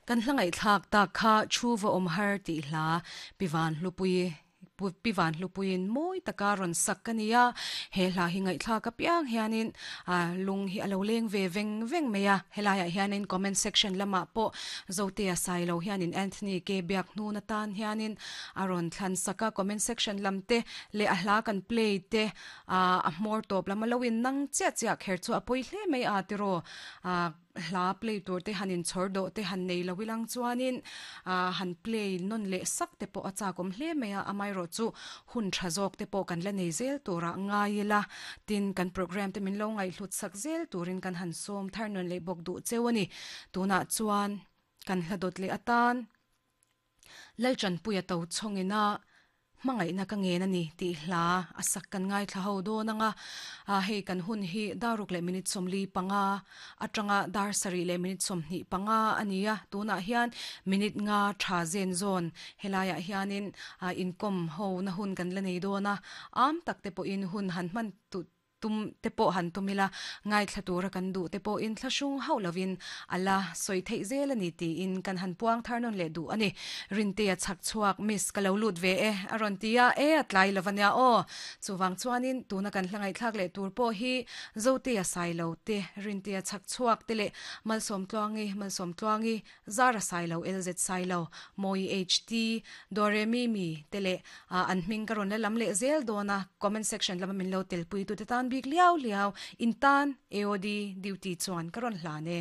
Kan hla ngaihthlak tak kha Thu va awm har tih hla Pi Van Hlupui Pi Van Hlupuiin mawi taka rawn sak ka ni a, he hla hi ngaihthlak apiang hianin lung hi a lo leng ve veng veng mai a, helaiah hianin comment section lamah pawh Zotea Sailo hianin Anthony ke biak hnun atan hianin a rawn thlan sak a, comment section lam te leh a hla kan play te a hmawr tawp lam a lo in nang chiah chiah kher chu a pawi hle mai a tiraw. Hla play tur te han inchhawr dawh te han nei lo ilang chuanin ah han play nawn leh sak te pawh a chak awm hle mai a, amaherawh chu hun tha zawk te pawh kan la nei zel turah ngai ila, tin kan program te min lo ngaihhlut sak zel turin kan han sawm thar nawn leh bawk duh cheu a ni. Tunah chuan kan hla dawt leh atan. Lalṭanpuia to chhawngina hmangaihna ka ngen a ni tih hla a sak kan ngaithla ho dawn ang a, hei kan hun hi daruk leh minute 45 atanga dar sarih leh minute 25 a ni a, tunah hian minute nga tha zen zawn helaiah hianin inkawm ho na hun kan la nei dawn a, am tak te pawhin hun han hman Tum te pawh han tum ila, ngaithla tura kan duh te pawhin thlahrung hauh lovin a la sawi theih zel a ni tiin kan han puang thar nawn leh duh a ni. Rintea chhak chhuak, Miss, ka lo lut ve e, a rawn ti a, e, a tlai lo ania aw. Chuvang chuanin tuna kan hla ngaihthlak leh tur pawh hi Zotea Sailo te, Rintea chhak chhuak te leh Malsawmtluangi, Malsawmtluangi, Zara Sailo, LZ Sailo, Mawi HT, Doremi mi te leh an hming ka rawn la lam leh zel dawn a, comment section lama min lo telpui tute tan bik liau liau in tan AOD duty chuan ka rawn hlan e.